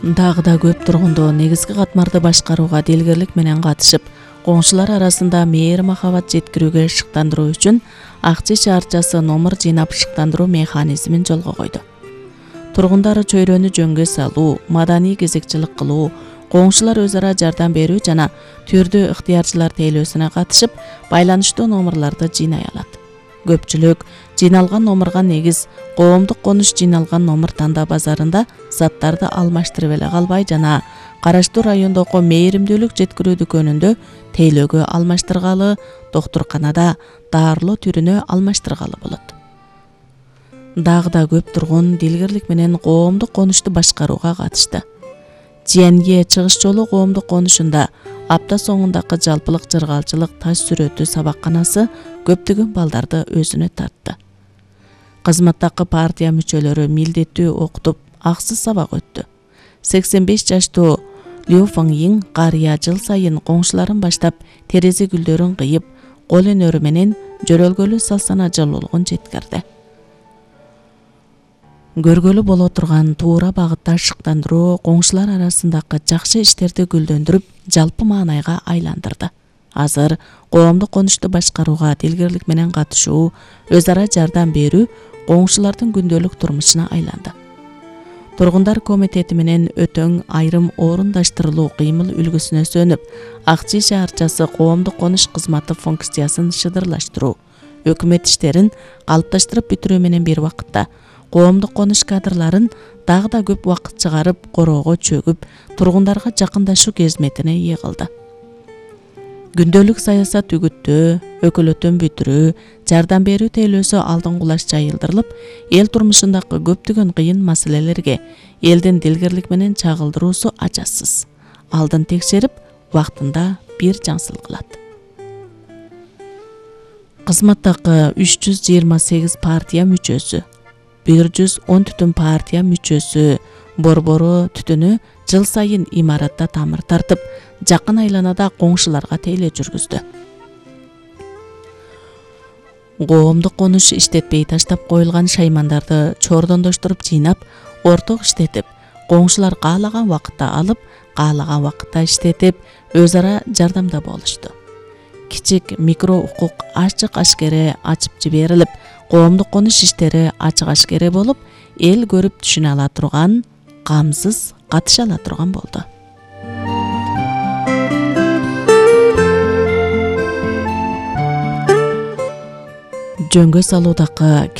Дагы да көп тургундоо негизги катмарды башкарууга делгерлик менен катышып, коңшулар арасында мээр махабат жеткирүүгө шыктандыруу үчүн Акчи шаарчасы номер жыйнап шыктандыруу механизмин жолго койду. Тургундар чөйрөнү жөнгө салуу, маданий кезекчилик кылуу, коңшулар өз ара жардам берүү жана түрдүү ыктыярчылар тейлөөсүнө катышып, байланыштуу номерларды жыйнай алат. Көпчүлүк жыйналган номерга негиз коомдук конуш жыйналган номер тандаа базарында заттарды алмаштырып эле калбай жана караштуу райондогу мээримдүүлүк жеткирүү дүкөнүндө тейлөөгө алмаштыргалы, доктурканада дарылоо түрүнө алмаштыргалы болот. Дагы да көп тургун дилгерлик менен коомдук конушту башкарууга катышты. Жиенге чыгыш жолу коомдук конушунда апта соңундагы жалпылык жыргалчылык таш сүрөтү сабакканасы көптөгөн балдарды өзүнө тартты. Кызматтагы партия мүчөлөрү милдеттүү окутуп, аксыз сабак өттү. 85 жаштуу Лю Фэнгин карыя жыл сайын коңшуларын баштап терезе гүлдөрүн кыйып, кол өнөрү менен жөрөлгөлүү салсана жылуулугун жеткирди. Көргөлү боло турган туура багытта шыктандыруу коңшулар арасындагы жакшы иштерди гүлдөндүрүп, жалпы маанайга айландырды. Азыр коомдук конушту башкарууга дилгерлик менен катышуу, өз ара жардам берүү коңшулардын күндөлүк турмушуна айланды. Тургундар комитети менен өтөң айрым орундаштырылуу кыймыл үлгүсүнө сөнүп, Акчи шаарчасы коомдук конуш кызматы функциясын шыдырлаштыруу, өкмөт иштерин калыпташтырып бүтүрүү менен бир убакытта коомдук конуш кадрларын дагы да көп убакыт чыгарып, короого чөгүп, тургундарга жакындашуу кезметине ээ кылды. Күндөлүк саясат үгүттөө, өкөлөтөн бүтүрүү, жардам берүү тейлөөсү алдынгулаш жайылдырылып, эл турмушундагы көптөгөн кыйын маселелерге элдин дилгерлик менен чагылдыруусу ажасыз. Алдын текшерип, убактында бир жаңсыл кылат. Кызматтагы 328 партия мүчөсү, 110 түтүн партия мүчөсү, борбору түтүнү жыл сайын имаратта тамыр тартып, жакын айланада коңшуларга тейлөө жүргүздү. Коомдук конуш иштетпей таштап коюлган шаймандарды чордондоштуруп жыйнап, орток иштетип, коңшулар каалаган убакытта алып, каалаган убакытта иштетип, өз ара жардамда болушту. Кичик микро укук ачык ашкере ачып жиберилип, коомдук конуш иштери ачык ашкере болуп, эл көрүп түшүнө ала турган, камсыз катыша ала турган болду. Жөнгө салуудагы